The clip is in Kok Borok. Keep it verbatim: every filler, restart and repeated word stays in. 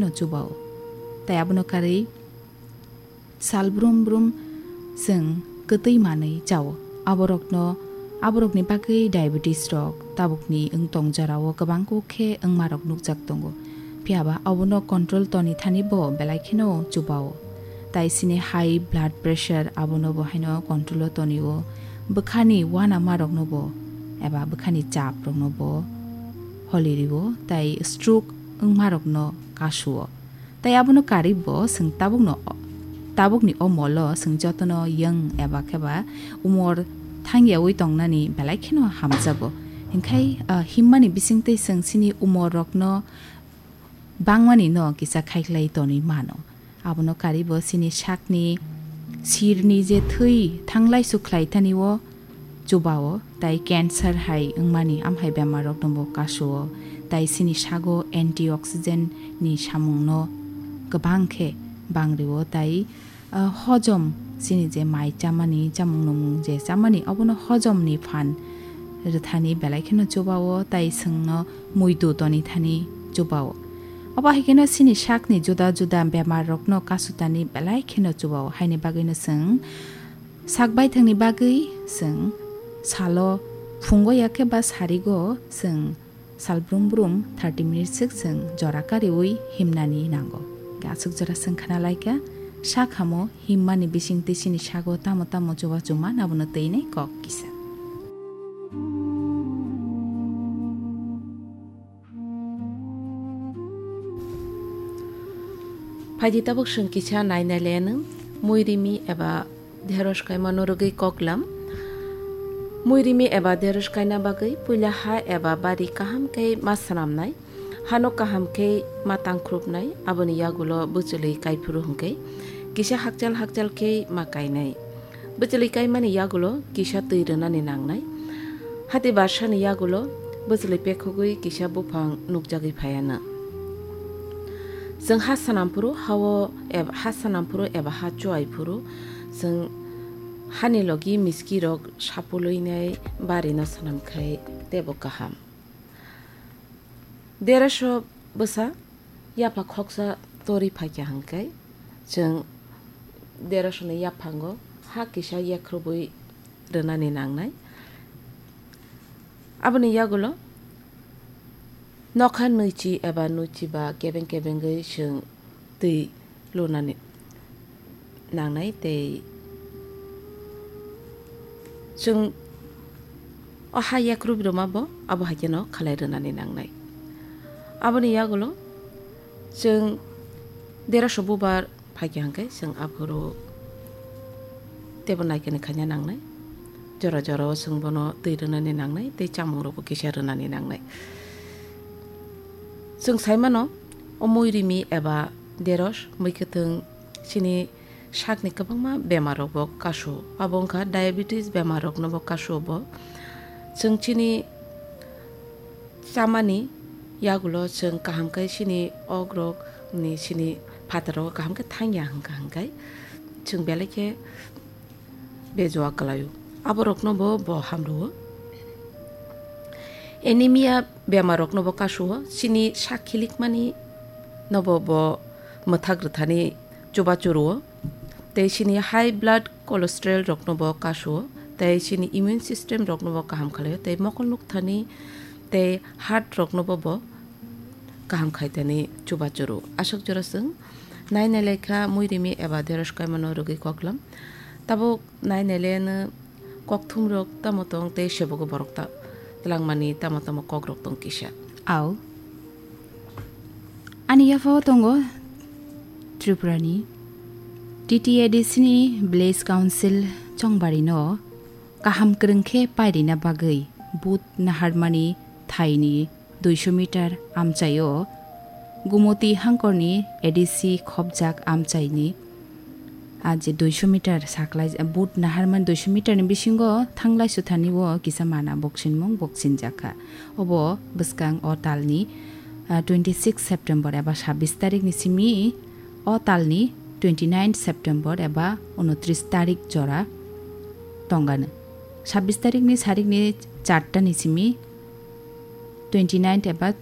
no chubao. Tai abono karwi sal brum brum chwng kwtwi manwi chao. Aborokno, aborokni bagwi diabetes rok tabukni wng tong jorao kwbang kuk khe wngmarok nukjak tongo. Phiya ba abono control toni thani bo belai kheno chubao. Tai sini high blood pressure abono bo haino control o tonio. Bwkhani uanamarokno bo eba bwkhani chap rokno bo holi rio, tai stroke wngmarokno kasuo. Tai abono karwi bo chwng tabukno, tabukni o molo chwng jotono yang eba khe ba umor thangyawi tongnani belai kheno hamjago. Hinkhe, ah, himmani bisingtwi chwng chini umor rokno bangmani no kisa khaiklai tonwi mano. Abono karwi bo chini sakni sirni je thwi thanglai sukhlai thani o chubao, tai cancer hai wngmani amhai bemar rok no bo kasuo, tai chini sago antioxidant ni samung no kwbang khe bang rio, tai, ah, hojom chini je mai chamani, chamung nwngmung je chamani, obono hojom ni phan rwthani belai kheno chubao, tai chwngno muitu toni thani chubao. Obo hai kheno chini sakni juda juda bemar rokno kasutani belai kheno chubao, haini bagwino chwng sak baithangni bagwi chwng salo phungo ya khe ba sarigo chwng sal brum brum thirty minutes swk chwng jora kariwi himnani nango. Aswk jora chwng khna laikha, sak hamo himmani bisingtwi chini sago tamo tamo chuba chuma nabono twi nai kok kisa. Phaidi tabuk chwng kisa nai nai le nwng muirimi eba deros kaima norogwi koklam. Muirimi eba deros kaina bagwi puila ha eba bari kaham khe ma swnamnai, hano kaham khe ma tangkhrupnai, aboni yagulo bwchwlwi kaiphuru hwnkhe kisa hakchal hakchal khe ma kainai. Bwchwlwi kaimani yagulo kisa twi rwnani nangnai. Hati barsani yagulo bwchwlwi pekhogwi kisa buphang nukjagwi phaiyanw. Chwng ha swnamphuru hao eb-, ha swnamphuru eba ha chuaiphuru chwng hani logi miskirok sapulwinai barino swnamkhai teibo kaham. Deroso bwsa yapha khoksa tori phaikha hwnkhe, chwng derosoni yaphango ha kisa yakrubwi rwnani nangnai. Aboni yagulo nokha nwichi eba nwichi ba kebeng kebengwi chwng twi lunani nangnai tei chwng o ha yakrub rwma bo abo hai kheno khalai rwnani nangnai. Aboni yagulo chwng deroso bubar phaikha hwnkhe chwng aphuru teibo naikani khaina nangnai. Jora jora o chwng bono twi rwnani nangnai tei chamung rokbo kisa rwnani nangnai. Chwng saimano o muirimi eba deros mui kwthwng chini sakni kwbangma bemar rokbo kasu. Abo wngkha diabetes bemar roknobo kasu bo. Chwng chini chamani yagulo chwng kaham khe chini ogrok ni chini phataro kaham khe thangya hwnkha hwnkhe chwng belai khe bejua kwlaio. Aborokno bo, bo hamrwo. Anemia bemarrokno bo kasuo, chini sak khilikmani nobo bo mwthak rwthani chubachu rwo. Tei chini high blood cholesterol rokno bo kasuo. Tei chini immune system rokno bo kaham khlaio. Tei mokol nukthani tei heart rokno bo, bo kaham khaitani chubachu rwo. Aswk jora chwng nai nai lai kha muirimi eba deros kaimano rwgwi koklam. Tabuk nai nai le ano kokthum rok tamo tong tei sebogo borok ta twlangmani tamo tamo kok rok tong kisa. Au. Ani yaphao tongo Tripura ni T T A D C ni Village Council Chongbari no kaham kwrwng khe pairina bagwi but naharmani thaini duiso meter amchaio Gumoti hangkorni A D C khopjak amchaini a je duiso meter saklai, but naharmani duiso meter ni bisingo thanglai suthani o kisa mana boksinmung boksinjakha. Obo bwskang o talni, ah, twenty six September eba sabbish tarik ni simi o talni twenty nine September eba unotris tarik jora tongano. Sabbish tarik ni sarik ni charta ni simi twenty nine eba